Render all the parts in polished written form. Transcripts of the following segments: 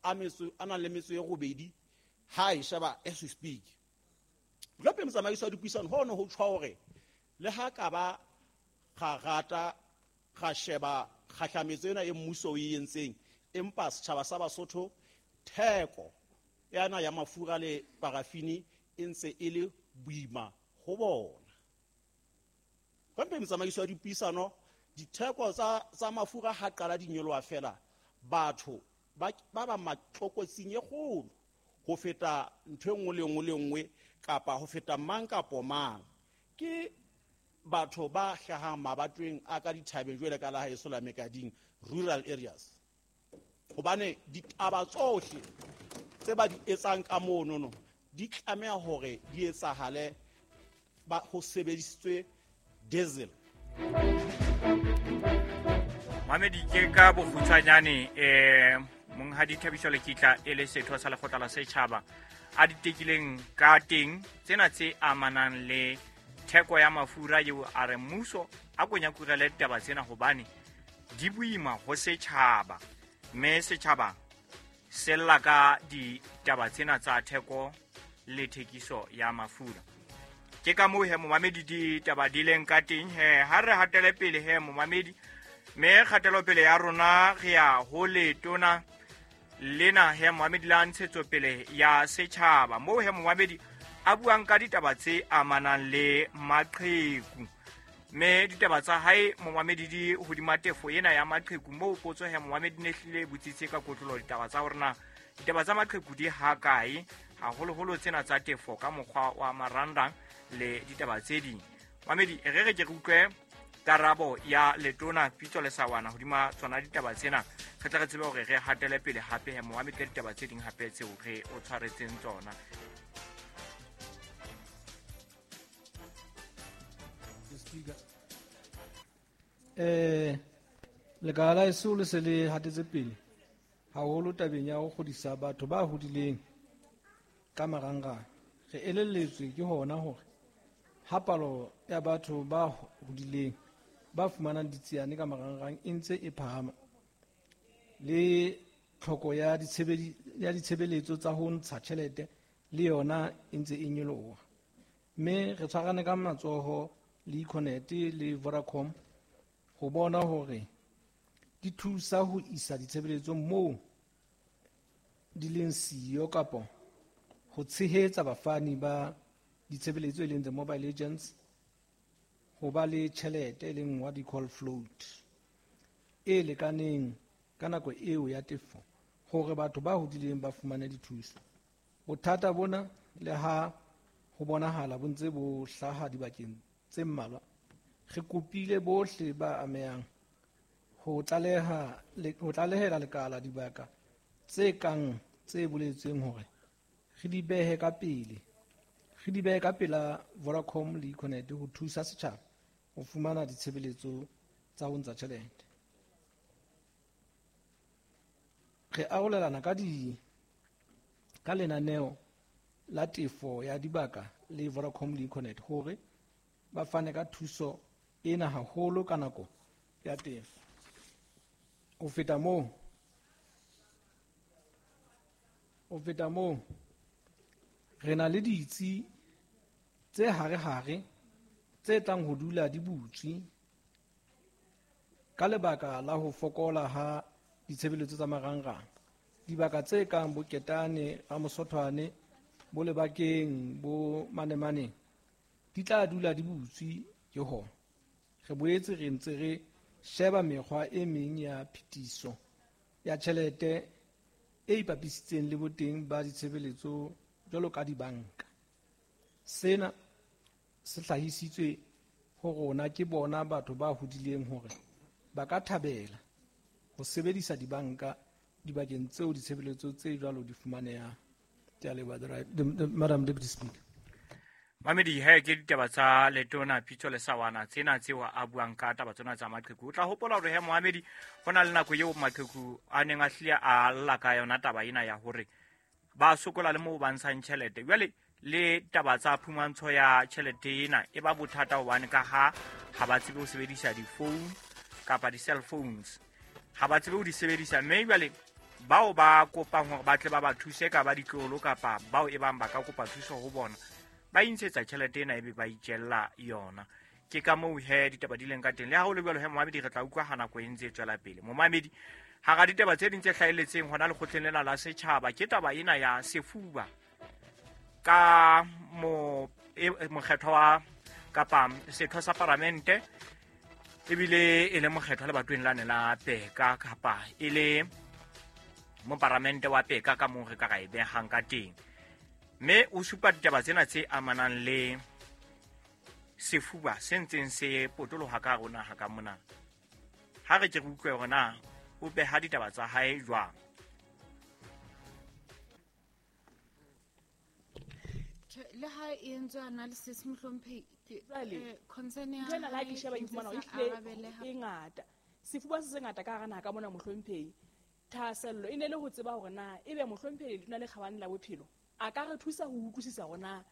a metso a nang le metso e robedi ha e sheba as we speak. Gape motsamaiso wa dipuisano ho ne ho tjho hore le ha ka ba ga rata ga sheba kgahlametso ena e mmuso o e entseng, empa setjhaba sa Basotho theko yana ya mafura le parafini e ntse e le boima ho bona. Gape motsamaiso wa dipuisano, ditheko tsa mafura ha qala di nyoloha fela, batho ba ba matlokotsing e kgolo ho feta ntho e nngwe le nngwe le nngwe kapa ho feta mang kapo mang. Ke batho ba hlahang mabatoweng a ka dithabeng jwale ka la haeso la Mekading, rural areas. Hobane ditaba tsohle tse ba di etsang ka monono di tlameha hore di etsahale ba ho sebedisitswe diesel. Mamedi, ke ka bokgutshwanyane monghadi Thabiso Lekitla e le setho sa lekgotla la setjhaba a di tekileng ka teng tsena tse amanang le theko ya mafura eo a re mmuso a konyakurele ditaba tsena hobane di boima ho setjhaba, mme setjhaba se lla ka ditaba tsena tsa theko le thekiso ya mafura. Ke ka moo he momamedi ditaba di leng ka teng he. Ha re hatele pele he momamedi, mme kgatelopele ya rona re ya ho letona lena he momamedi la ntshetsopele ya setjhaba, moo he momamedi a buang ka ditaba tse amanang le maqheku. Mme ditaba tsa hae momamedi di hodima tefo ena ya maqheku, moo potso he momamedi ne hlile botsitse ka kotlolo ditaba tsa hore na ditaba tsa maqheku di hakae, haholoholo tsena tsa tefo ka mokgwa wa marangrang le ditaba tse ding. Mamedi, re re ke re utlwe karabo ya letona Pitso Lesawana hodima tsona ditaba tsena, re tle re tsebe hore re hatele pele hape he momamedi ka ditaba tse ding hape tseo re o tshwaretseng tsona. Lekala la heso le se le hatetse pele haholo tabeng ya ho kgodisa batho ba hodileng ka marangrang. Re elelletswe ke hona hore ha palo ya batho ba hodileng ba fumanang ditsiane ka marangrang e ntse e phahama, le tlhoko ya ditshebeletso tsa ho ntsha tjhelete le yona e ntse e nyoloha. Mme re tshwarane ka matsoho le Econet le Vodacom ho bona hore di thusa ho isa ditshebeletso moo di leng siyo kapo ho tshehetsa bafani ba ditshebeletso e leng the mobile agents ho ba le tjhelete e leng what we call float e lekaneng ka nako eo ya tefo hore batho ba hodileng ba fumane dithuso. Bothata bona le ha ho bonahala bo ntse bo hlaha dibakeng tse mmalwa, re kopile bohle ba amehang ho tlalehela lekala dibaka tse kang tse boletsweng hore re di behe ka pele, re di behe ka pela Vodacom le Econet ho thusa setjhaba ho fumana ditshebeletso tsa ho ntsha tjhelete. Re arolelana ka lenaneo la tefo ya dibaka le Vodacom le Econet hore ba fane ka thuso ena haholo ka nako ya tefo. Ho feta moo, re na le ditsi tse hare-hare tse tlang ho dula di butswe ka lebaka la ho fokola ha ditshebeletso tsa marangrang. Dibaka tse kang bo Ketane, Ramosothwane, bo Lebakeng, bo Manemaneng di tla dula di butswe ke hona. Re boetse re ntse re sheba mekgwa e meng ya phetiso ya tjhelete e ipapisitseng le boteng ba ditshebeletso jwalo ka dibanka. Sena se hlahisitswe ho rona ke bona batho ba hodileng hore ba ka thabela ho sebedisa dibanka dibakeng tseo ditshebeletso tse jwalo di fumanehang. Ke a leboha, Madam Deputy Speaker. Mamedi, he ke ditaba tsa letona Pitso Lesawana tsena tseo a buang ka taba tsona tsa maqheku. O tla hopola hore he Mohamedi ho na le nako eo maqheku a neng a hlile a lla ka yona taba ena ya hore ba sokola le moo ba ntshang tjhelete. Jwale le taba tsa phumantsho ya tjhelete ena e ba bothata hobane ka ha ha ba tsebe ho sebedisa di-phone kapa di-cell phones, ha ba tsebe ho di sebedisa, mme jwale Bao ba kopang hore ba tle ba ba thuse ka ba ditlolo kapa bao e bang ba ka kopa thuso ho bona, ba intshetsa tjhelete ena ebe ba itjella yona. Ke ka moo he ditaba di leng ka teng. Le ha ho le jwalo he momamedi, re tla utlwa ha nako e ntse e tswela pele. Momamedi, hara ditaba tse ding tse hlahelletseng hona lekgotleng lena la setjhaba ke taba ena ya sefuba ka mokgethwa wa kapa setho sa paramente, ebile e le mokgethwa lebatoweng lane la Peka kapa e le moparamente wa Peka ka moo re ka ra e behang ka teng. Mme o supa ditaba tsena tse amanang le sefuba se ntseng se potoloha ka hare ho naha ka mona. Ha re ke re utlwe hore na o beha ditaba tsa hae jwang. Le ha e entswe analysis mohlomphehi, Jwale, concern ya ntho ena le ha ke hae sheba e e fumana ntse hore sa ehlile arabeleha. e ngata. Sefuba se sengata ka hara naha ka mona mohlomphehi. Thahasello e ne le ho tseba hore na ebe mohlomphehi Letona le Kgabane la Bophelo a ka re thusa ho utlwisisa hore na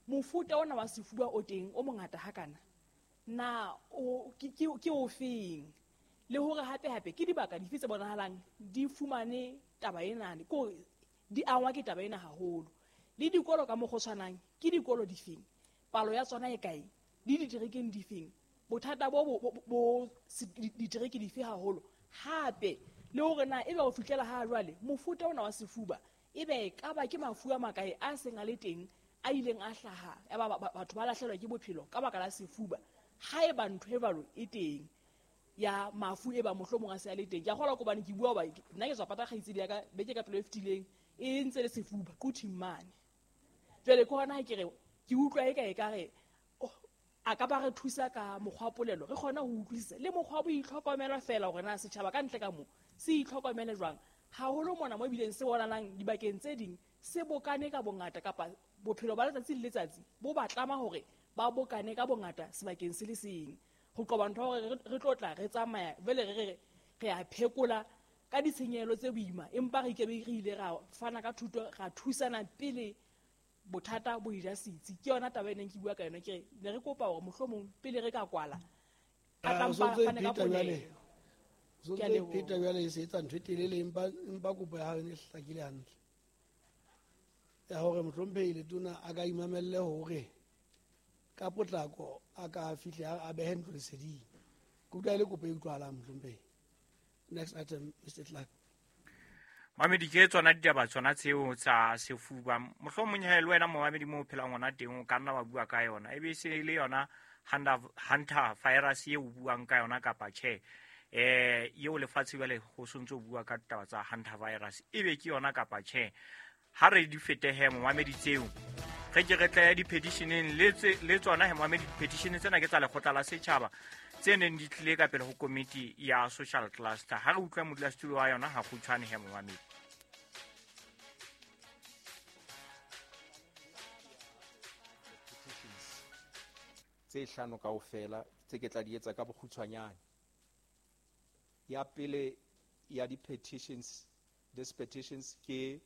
mofuta ona wa sefuba o teng o mongata hakana na ke ofeng, le hore hape hape ke dibaka dife tse bonahalang di fumane taba ena, ke hore di angwa ke taba ena haholo. Le dikolo ka mokgwa o tshwanang ke dikolo difeng, palo ya tsona e kae, le diterekeng difeng, bothata bo ditereke dife haholo. Hape le hore na ebe ho fihlela ha jwale mofuta ona wa sefuba ebe e ka ba ke mafu a makae a seng a le teng a ileng a hlaha, ya ba batho ba lahlehelwa ke bophelo ka baka la sefuba. Haeba ntho e jwalo e teng ya mafu e ba mohlomong a se a le teng, ke a kgolwa hobane ke bua hoba nna ke tswa pata kgaitsedi ya ka beke ka pelo e fetileng e ntse le sefuba Quthing mane. Jwale ke hona ha ke re ke utlwa eka ekare, oh, a ka ba re thusa ka mokgwa wa polelo, re kgone ho utlwisisa le mokgwa wa boitlhokomelo feela hore na setjhaba ka ntle ka moo se itlhokomele jwang. Haholo mona mo ebileng se bonalang dibakeng tse ding se bokane ka bongata, kapa bophelo ba letsatsi le letsatsi bo ba tlama hore ba bokane ka bongata sebakeng se le seng, ho qoba ntho ya hore re tlo tla re tsamaya jwale re re re a phekola ka ditshenyehelo tse boima, empa re ikebe re ile ra fana ka thuto, ra thusana pele bothata bo eja setsi. Ke yona taba e neng ke bua ka yona, ke re ne re kopa hore mohlomong pele re ka kwala, a tla O mpa sontso e fane ka pheta jwale. polelo. O sontso Ke a e leboha. pheta jwale, e se etsa ntho e telele, empa kopo ya hao e ne e hlakile hantle. Ya hore mohlomphehi Letona a ka imamelle hore ka potlako a ka fihle a behe ntlo leseding. Ke utlwa e le kopo e utlwahalang, mohlomphehi. Next item, Mister Clark. Mamedi, ke tsona ditaba tsona tseo tsa sefuba. Mohlomong he le wena momamedi moo o phelang hona teng o ka nna wa bua ka yona. Ebe e se le yona Hunter virus eo o buang ka yona kapa tjhe. Eo lefatshe jwale ho sontso o bua ka ditaba tsa Hunter virus, ebe ke yona kapa tjhe. Ha re di fete he momamedi tseo, re ke re tle di-petitioneng le tsona he momamedi. Di-petition tsena ke tsa lekgotla la setjhaba tse neng di tlile ka pele ho komiti ya social cluster. Ha re utlwa modulasetulo wa yona ha kgutshwane he momamedi. Tse hlano kaofela tse ke tla di etsa ka bokgutshwanyane. Ya pele ya di-petitions, these petitions ke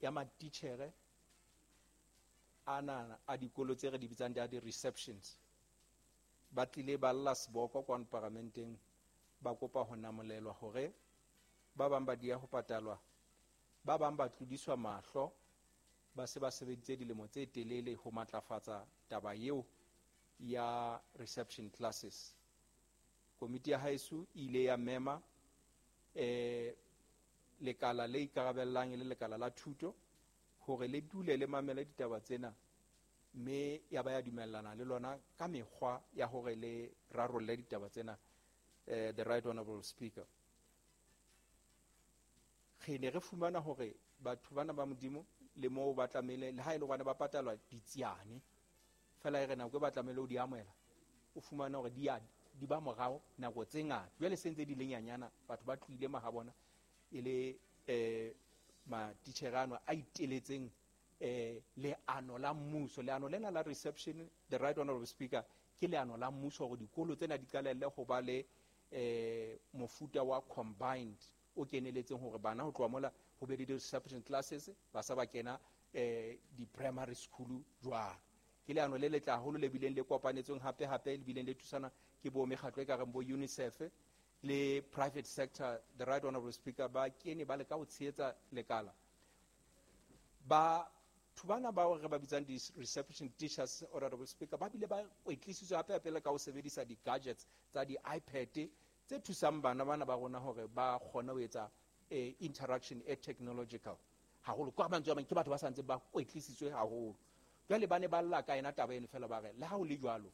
ya matitjhere ana a dikolo tse re di bitsang di di-receptions. Ba tlile ba lla seboko kwano paramenteng, ba kopa ho namolelwa hore ba bang ba dia ho patalwa, ba bang ba tlodiswa mahlo, ba se ba sebeditse dilemo tse telele ho matlafatsa taba eo ya reception classes. Komiti ya haeso e ile ya mema, lekala le ikarabellang e le lekala la thuto hore le dule le mamele ditaba tsena, mme ya ba ya dumellana le lona ka mekgwa ya hore le rarolle ditaba tsena. The Right Honorable Speaker, re ne re fumana hore batho bana ba Modimo le moo ba tlamehile, le ha e le hobane ba patalwa ditsiane fela, e re nako e ba tlamehile ho di amohela, o fumana hore di ba morao nako tse ngata. Jwale se ntse di le nyanyana, batho ba tlohile mahabona e le, matitjhere ano a iteletseng, leano la mmuso. Leano lena la reception, the Right Honorable Speaker, ke leano la mmuso hore dikolo tsena di qalelle ho ba le, mofuta wa combined o keneletseng hore bana ho tloha mola ho be le di-reception classes, ba sa ba kena, di-primary school jwalo. Ke leano le letle haholo le bileng le kopanetsweng hape hape, le bileng le thusana ke bo mekgatlo e ka reng bo UNICEF Le private sector, the right honorable speaker, ba kene ba leka ho tshehetsa lekala. Ba thubana bao re ba bitsang di-reception teachers, honorable speaker, ba bile ba kwetlisitswe hape hape le ka ho sebedisa di-gadgets tsa di-iPad tse thusang bana bana ba rona hore ba kgone ho etsa interaction e technological haholo. Ka mantswe a mang, ke batho ba sa ntseng ba kwetlisitswe haholo. Jwale ba ne ba lla ka ena taba eno fela, ba re le ha ho le jwalo,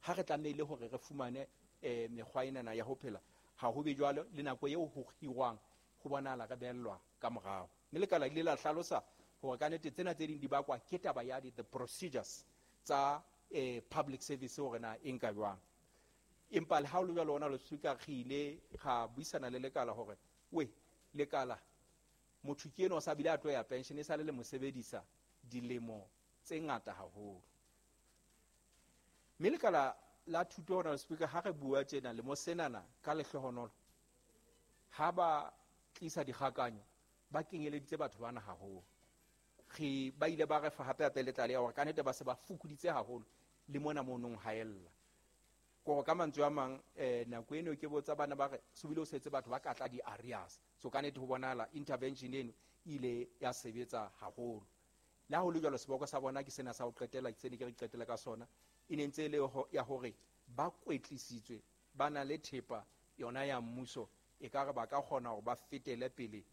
ha re tlamehile hore re fumane mekgwa enana ya ho phela, ha ho be jwalo le nako eo ho hirwang ho bonahala re behellwa ka morao. Mme lekala ile la hlalosa hore ka nnete tsena tse ding di bakwa ke taba ya the procedures tsa public service hore na e nka jwang. Empa le ha ho le jwalo, hona le speaker, re ile ra buisana le lekala hore we lekala motho ke enwa o sa bile a tlo ya pension, e sale le mo sebedisa dilemo tse ngata haholo. Mme lekala la thuto, hona le speaker, ha re bua tjena le mo senana ka lehlohonolo, ha ba tlisa dikgakanyo ba kenyeleditse batho bana haholo. Re ba ile ba re fa hape hape le tlaleho hore ka nnete ba se ba fokoditse haholo le mona monong haella. Kore ka mantswe a mang, nako eno ke botsa bana ba re so bile o setse batho ba ka tla di-areas. So ka nnete ho bonahala intervention eno e ile ya sebetsa haholo. Le ha ho le jwalo, seboko sa bona ke sena sa ho qetela, ke sene ke re qetela ka sona, e ne ntse e le ya hore ba kwetlisitswe, ba na le thepa yona ya mmuso, e ka re ba ka kgona hore ba fetele pele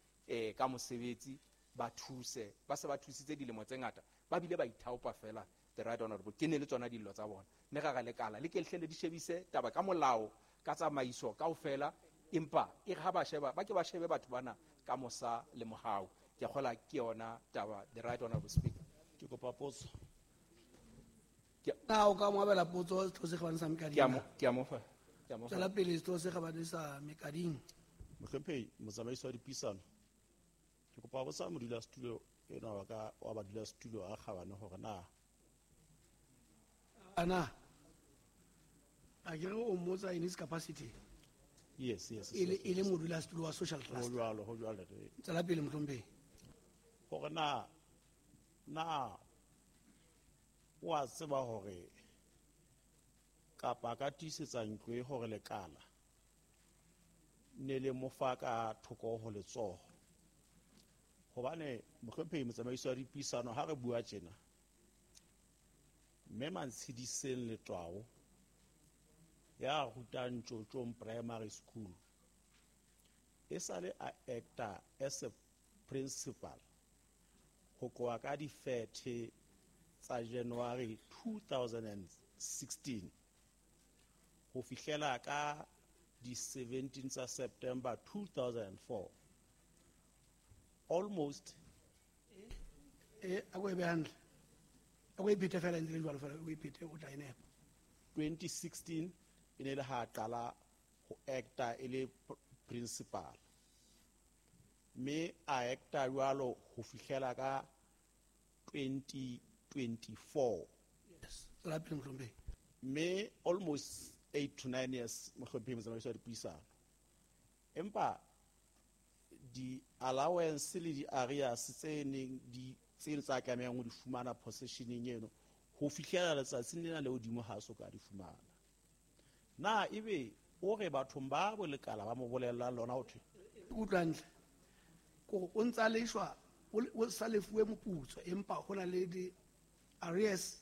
ka mosebetsi, ba thuse, ba se ba thusitse dilemo tse ngata, ba bile ba ithaopa fela, the right honorable, ke ne le tsona dillo tsa bona. Mme ra re lekala le ke lehle le di shebise taba ka molao, ka tsamaiso kaofela, empa e re ha ba sheba, ba ke ba shebe batho bana ka mosa le mohau. Ke a kgolwa ke yona taba, the right honorable speaker. Ke kopa potso. Na o ka mo abela potso setho se kgabane sa Mekading? Ke a mo fa. Ke a mo fa. Tswela pele setho se kgabane sa Mekading. Mohlomphehi motsamaisi wa dipuisano, ke kopa ho botsa modulasetulo enwa wa ka wa badulasetulo a kgabane hore na ana a ke re o mmotsa in his capacity. Yes, yes, E yes, le yes. modulasetulo wa social Ho cluster. jwalo, ho jwalo. Tswela pele mohlomphehi. Hore na o a tseba hore kapa ka tiisetsa ntlo e hore lekala ne le mo fa ka thoko ho letsoho. Hobane mohlomphehi motsamaisi wa dipuisano, ha re bua tjena, mme Mantshidiseng Letwao ya rutang Tjotjong Primary School e sale a acta as a principal ho tloha ka di-30 tsa January 2016 ho fihlela ka di-17 tsa September 2004, almost A ko e behe hantle. A ko e phete fela ntse le jwalo fela, o e phete o tla e nepa. 2016 e ne le ha qala ho acta e le principal, mme a acta jwalo ho fihlela ka 2024. Yes, tswela pele mohlomphehi. Mme almost 8 to 9 years mohlomphehi motsamaisi wa dipuisano, empa di-allowance le di-arrears tse neng di tse tsa tlamehang ho di fumana possessioneng eno ho fihlela letsatsing lena le hodimo ha so ka di fumana. Na ebe o re bathong ba bolekala ba mo bolellang lona ho thwe? Utlwa hantle. Kore o ntsa leshwa, o sa lefuwe moputso, empa ho na le di-arrears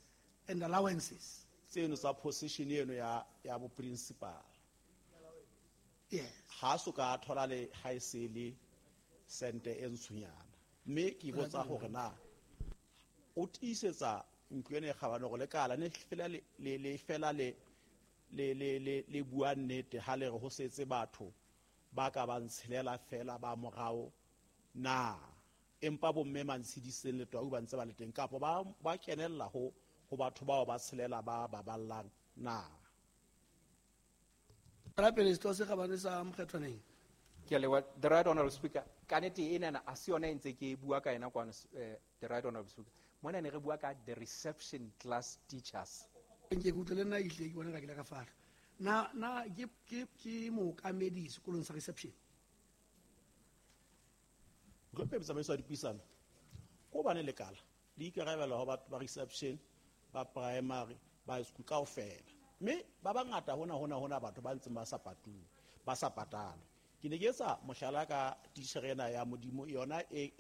and allowances tseno tsa possession eno ya bo principal. Yes. Ha so ka thola le ha e se le sente e ntshonyana. Mme ke botsa hore na o tiisetsa ntlo ena e kgabane hore lekala ne fela le, le, le fela le, le, le, le, le bua nnete ha le re ho setse batho ba ka ba ntshelela fela ba morao na, empa bo mme Mantshidiseng Letwau ba ntse ba le teng kapo ba kenella ho batho bao ba tshelela ba baballang na? Tswela pele setho se kgabane sa Mokgethwaneng. Ke a leboha, the right honorable speaker. Ka nnete enana a se yona e ntse ke bua ka yena kwano, the right honorable speaker. Mona ne re bua ka the reception class teachers. Nke ke utlwe le nna ehlile ke bona ka ke ile ka fahla. Na ke mookamedi sekolong sa reception? Mohlomphehi motsamaisi wa dipuisano, ko hobane lekala le ikarabela ho batho ba reception, ba primary, ba high school kaofela. Mme ba bangata hona, hona, hona batho ba ntseng ba sa patuwe. Ba sa patalwe. Ke ne ke etsa mohlala ka titjhere ena ya Modimo yona e